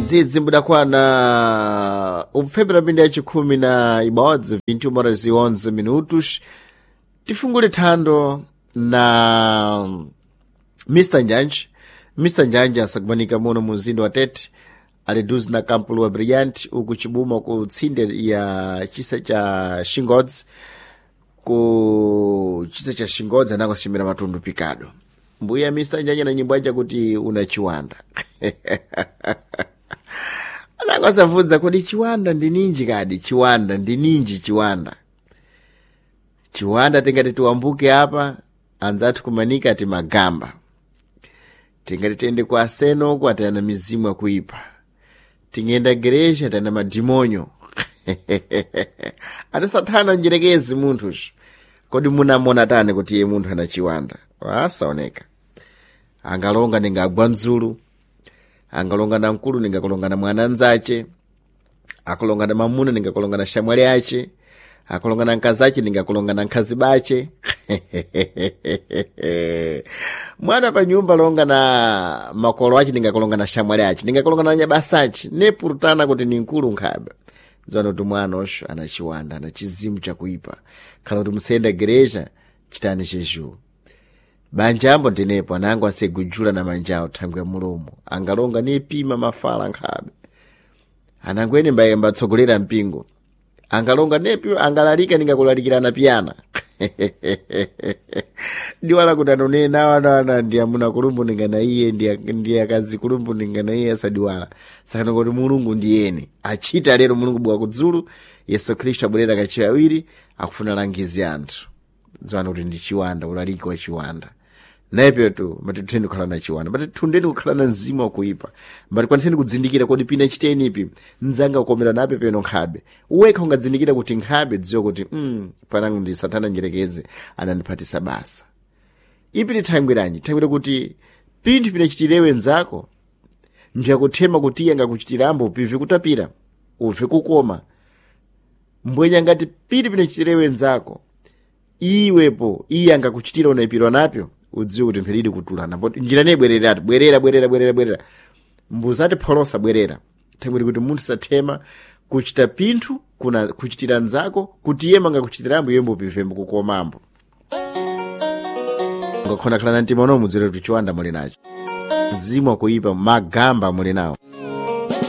Dzidzi mbudakwana upfembera pindi ya chikhumi na ibodzi 21 horas e 11 minutos. Tifungule thando na Mr Njanji. Mr Njanji asakumanika muno mu mzinda wa Tete, ali duzi na kampulu wa Brilliant uku chibuma ku tsinde ya chisa cha Shingodzi, ku chisa cha Shingodzi anakosimira matundu pikado. Mbuya Mr Njanji na nyimbo aja kuti una chiwanda. Anangosavudza kuti chiwanda ndi ninji kadi, chiwanda ndi ninji chiwanda. Chiwanda tingati tiwambuke apa, anzathu kumanika ati magamba. Tingati tiende kwa aseno uku atayana mizimu akuipa. Tingenda gereja atayana madimonyo. Ati sathana njerekezi munthuyu. Kodi munamona tani kuti iye munthu ana chiwanda? Asaoneka. Angalonga ningagwa ndzulu. Angalonga na mkulu ningakulonga na mwana nzache. Akulonga na mamuna ningakulonga na shamwali ache. Akulonga na nkazi ache ningakulonga na nkhazi bache. Mwana pa nyumba longa na makolo ache ningakulonga na shamwali ache. Ningakulonga na nyabasa ache. Nepurutana kuti ni mkulu nkhabe. Dzana kuti mwana osho ana chiwanda, ana chizimu chakuipa. Khala kuti musayenda gereja chitani chechu. Banja ambo ndinepo anango asegujula na manjawo thangwe ya mulomo. Angalonga nipima mafala nkhabe. Anango ene mbaye mbatsogolera mpingo. Angalonga nepi angalalika ningakulalikirana piyana. Diwala kuti anonena ana ana ndi amuna kulumbu ningana iye ndi akazi kulumbu ningana iye asadiwala. Sakana kuti Mulungu ndiyeni. Achita lero Mulungu bwa kudzulu Yesu Khristu abwerera kachiwiri akufuna langizi anthu. Dziwani kuti ndi chiwanda, ulaliki wa chiwanda. Nayepeyo tu matitheni kukhala na chiwanda, matithundeni kukhala na mzimu wakuipa, matikwaniseni kudzindikira kodi pina chitenipi mdzanga kukomera nape peno nkhabe. Wekha ungadzindikira kuti nkhabe dziwa kuti panango ndi satana njerekeze anandiphatisa basa. Ipi ni thangwiranji? Thangwira kuti pinthu pinachitirewe nzako mbyakuthema kuti iye angakuchitirambo pivi kutapira uve kukoma. Mbwenya ngati pili pinachitirewe nzako iwepo iye angakuchitira unaipirwa napyo udziwe kuti mpheridi kutulana poti njira ne bwereratu bwerera bwerera bwerera bwerera mbuzati pholosa bwerera thangwiri kuti munthu sathema kuchita pinthu kuna kuchitira nzako kuti iye mangakuchitirambo iye mbupivembo kukomambo ngakhona khala na mtima uno mudziwe kuti chiwanda muli nacho mzimu wakuipa magamba muli nawo.